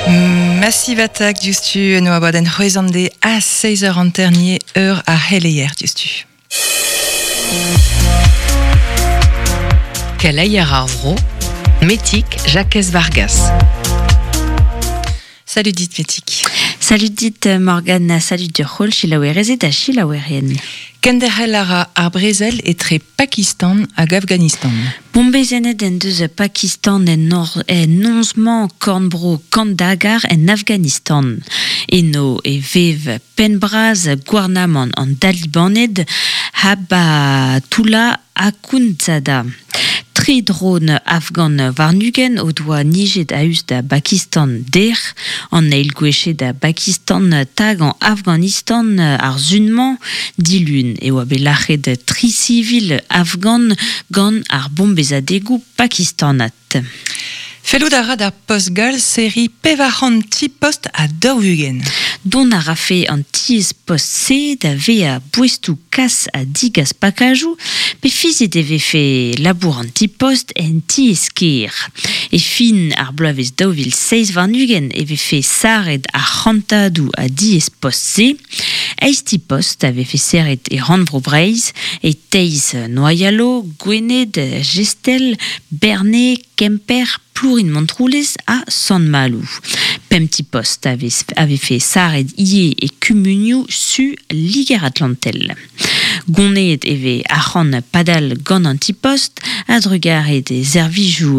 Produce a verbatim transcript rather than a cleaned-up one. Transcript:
Massive Attack diouzhtu en oa baden c'hwezan de a seiz eur anternier eur a heleier diouzhtu. Keleier ar vro, Metik Jacques Vargas. Salut dit Metik. Salut dit Morgane, salut de c'hol chilaouerezet da chilaouerien. Kenderc'hel a ra ar brezel etre Pakistan hag Afghanistan. Bombezenet en deus Pakistan en, nor, en nonzman kornbro Kandahar en Afghanistan. Eno e vev penbraz gouarnamant an Dalibaned Habatullah Akhundzada. Tri dron afghan warnugen o doa nijet a-us da Bakistan der, an eil gwechet da Bakistan tag an Afghanistan ar zunman dilun e oa bet lac'het tri sivil afghan gant ar bombezadegou pakistanat. Fellout a ra d'ar post gall seri pevar c'hant ti post a daou-ugent. Dont a rafe an tiez post-se da vea boestou kas a digas pakajou, pe fizet e vefe labour an ti post en tiez ker. E fin ar bloavezh daou vil seizh warn-ugent e vefe saret ar c'hantadou a diez post-se. Eiz ti post a vefe serret e rannvro Breizh, e Teiz Noyalo, Gwened, Gestel, Berne, Kemper, Plourin Montroulez ha Sant-Maloù. Pemp ti post a vez, a vefe saret ie e kumunioù su Liger-Atlantel. Goneet e vez arc'hant padal gant an ti post, a drugarez e servijoù